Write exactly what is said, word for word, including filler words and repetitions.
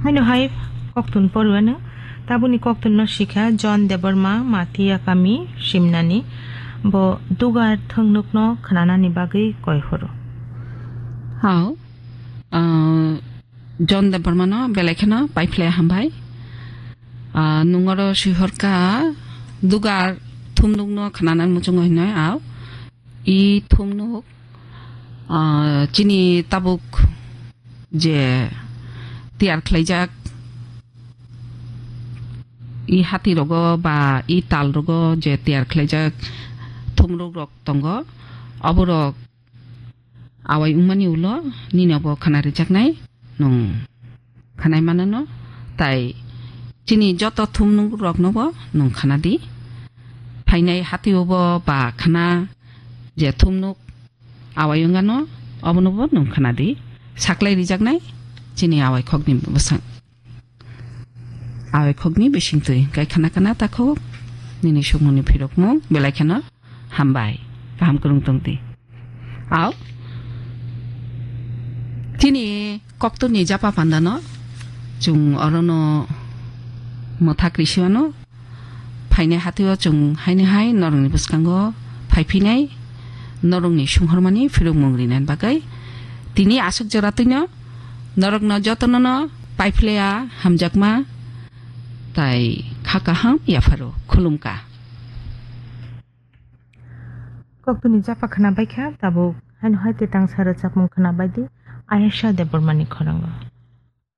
Haino hai koktun poruano, tabuni koktunno sikha John Debbarma, Matia kami, Simnani, bo dugar thwngnukno khnanani bagwi koi horo. Hao, ah, John Debbarmano belai kheno paiphle hambai. Ah, nungoro sihorka dugar thumnukno khnanan muchungo hinoi ao. I thumnuk, ah, chini tabuk je tiyar khlaijak, i hati rogo ba i tal rogo je tiyar khlaijak thumruk rok tongo, oborok awai wngmani ulo nini obo khana rijaknai nwng khanai manano, tai chini joto thumnuk rokno bo nwng khana di. Phainai hati obo ba khana je thumnuk awai wngano, obono bo nwng khana di. Saklai rijaknai chini awai khokni bwsang. Awai khokni bisingtwi kai khana khana takhuk nini sukmungni phirokmung belai kheno hambai. Kaham kwrwng tong di. Ao. Chini koktwni japa pandano chwng orono mwthak risiwano. Phainai hatio chwng haini hai norokni bwskango phaiphinai, norokni sunghormani phirokmung rinani bagwi. Tini aswk jora twino norokno jotonono paiphlaiya hamjakma tai kha kaham yapharo khulumka. Koktwni japa khna baikha, tabuk haino hai tei tangsa rwchapmung khna baidi Ayesha Debbarmani khorango.